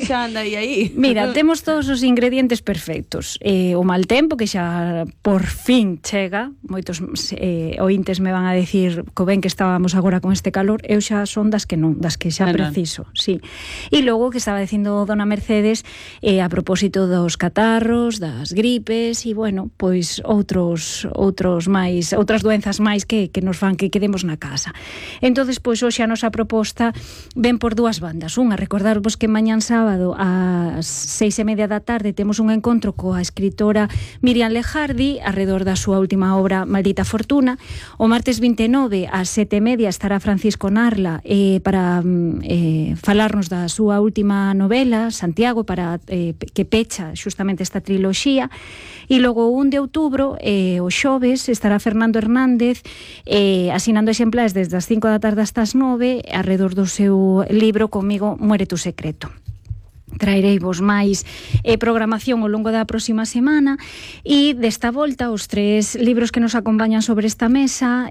xa anda aí. Mira, temos todos os ingredientes perfectos. O mal tempo, que xa por fin chega. Moitos ointes me van a decir co ben que estábamos agora con este calor. Eu xa son das que non, das que xa preciso. Sí. E logo que estaba dicindo dona Mercedes a propósito dos catarros, das gripes e, bueno, pois outras doenzas máis que nos fan que quedemos na casa. Entonces, pois hoxe a nosa proposta ven por dúas bandas. Unha, recordarvos que mañán sábado ás 6:30 da tarde temos un encontro coa escritora Miriam Lejardi arredor da súa última obra Maldita Fortuna. O martes 29 ás 7:30 estará Francisco Narla para falarnos da súa última novela, Santiago, para que pecha xustamente esta triloxía. E logo o 1 de outubro, o xoves, estará Fernando Hernández asinando exemplares desde as 5 da tarde hasta as 9 arredor do seu libro Comigo muere tu secreto. Traereivos máis programación ao longo da próxima semana e desta volta os 3 libros que nos acompañan sobre esta mesa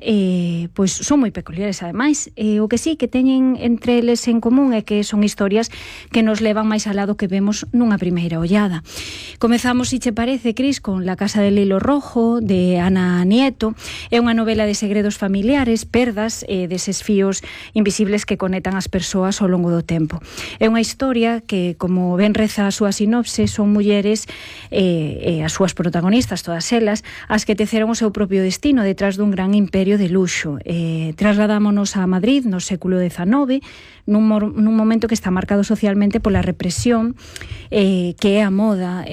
pois son moi peculiares ademais. O que sí que teñen entre eles en común é que son historias que nos levan máis alá do que vemos nunha primeira ollada. Comezamos, se che parece, Cris, con La casa del hilo rojo de Ana Nieto. É unha novela de segredos familiares, perdas deses fíos invisibles que conectan as persoas ao longo do tempo. É unha historia que, como ben reza a súa sinopse, son mulleres as súas protagonistas, todas elas, as que teceron o seu propio destino detrás dun gran imperio de luxo. Trasladámonos a Madrid no século XIX, nun momento que está marcado socialmente pola represión que é a moda,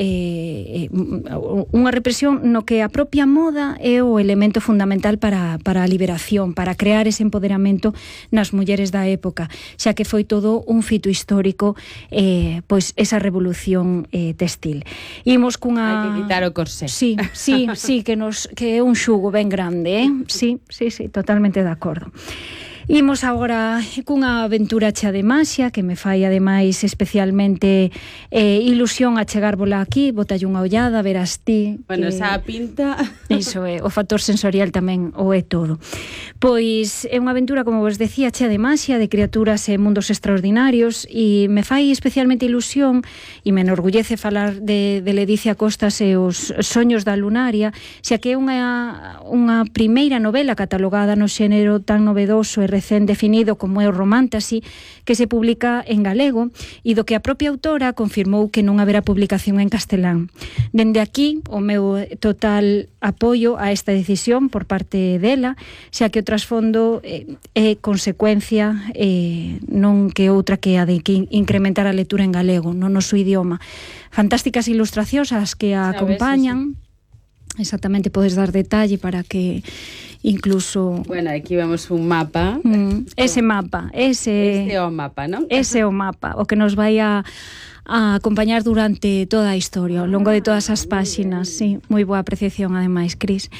unha represión no que a propia moda é o elemento fundamental para a liberación, para crear ese empoderamento nas mulleres da época, xa que foi todo un fito histórico pois esa revolución textil. Imos cunha... Hai que quitar o corsé. Sí, que é un xugo ben grande, Sí, totalmente de acordo. Imos agora cunha aventura chea de maxia que me fai ademais especialmente ilusión a chegárvola aquí, botalle unha ollada, verás ti. Bueno, esa pinta... Iso é, o factor sensorial tamén o é todo. Pois é unha aventura, como vos decía, chea de maxia, de criaturas e mundos extraordinarios e me fai especialmente ilusión e me enorgullece falar de Ledicia Costas e os soños da lunaria, xa que é unha primeira novela catalogada no xénero tan novedoso e recén definido como é o romantasy, que se publica en galego e do que a propia autora confirmou que non haberá publicación en castelán. Dende aquí, o meu total apoio a esta decisión por parte dela, xa que o trasfondo é consecuencia non que outra que a de que incrementar a lectura en galego, no noso idioma. Fantásticas ilustracións as que a acompañan. Exactamente, podes dar detalle para que incluso... Bueno, aquí vemos un mapa. Ese mapa, ese é o mapa, non? Ese é o mapa, o que nos vai a acompañar durante toda a historia, ao longo de todas as páxinas. Sí, moi boa apreciación ademais, Cris.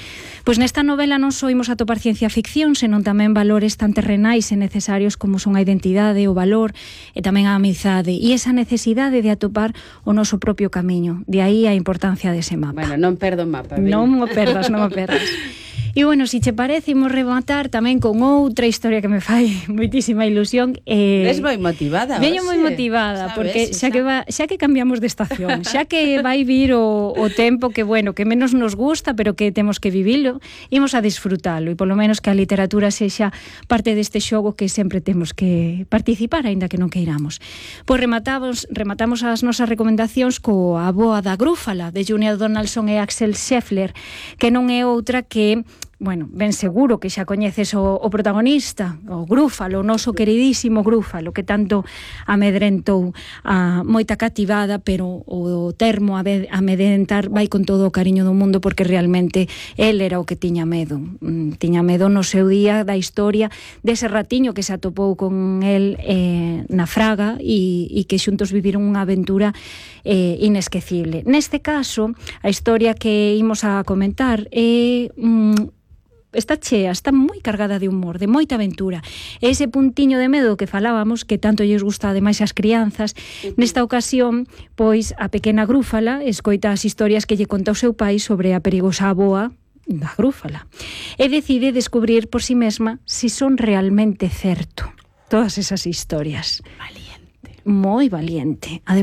Pois nesta novela non só imos atopar ciencia ficción, senón tamén valores tan terrenais e necesarios como son a identidade, o valor e tamén a amizade e esa necesidade de atopar o noso propio camiño. De aí a importancia dese mapa. Bueno, non perdo o mapa. Non o perdas. E, bueno, se che parece, imos rematar tamén con outra historia que me fai moitísima ilusión. Ves moi motivada. Veño moi motivada, porque xa que cambiamos de estación, xa que vai vir o tempo que, bueno, que menos nos gusta, pero que temos que vivilo, imos a disfrutalo, e polo menos que a literatura sexa parte deste xogo que sempre temos que participar, aínda que non queiramos. Pois rematamos as nosas recomendacións coa Boa da Grúfala, de Junia Donaldson e Axel Scheffler, que non é outra que... Bueno, ben seguro que xa coñeces o protagonista, o Grúfalo, o noso queridísimo Grúfalo, que tanto amedrentou a moita cativada, pero o termo amedrentar vai con todo o cariño do mundo, porque realmente el era o que tiña medo. Tiña medo no seu día da historia dese ratiño que se atopou con el na fraga e que xuntos viviron unha aventura inesquecible. Neste caso, a historia que imos a comentar é... está chea, está moi cargada de humor, de moita aventura. Ese puntiño de medo que falábamos, que tanto lles gusta ademais as crianzas, nesta ocasión, pois a pequena Grúfala escoita as historias que lle conta o seu pai sobre a perigosa avoa da Grúfala e decide descubrir por si mesma si son realmente certo todas esas historias. Valiente. Moi valiente. Ademais,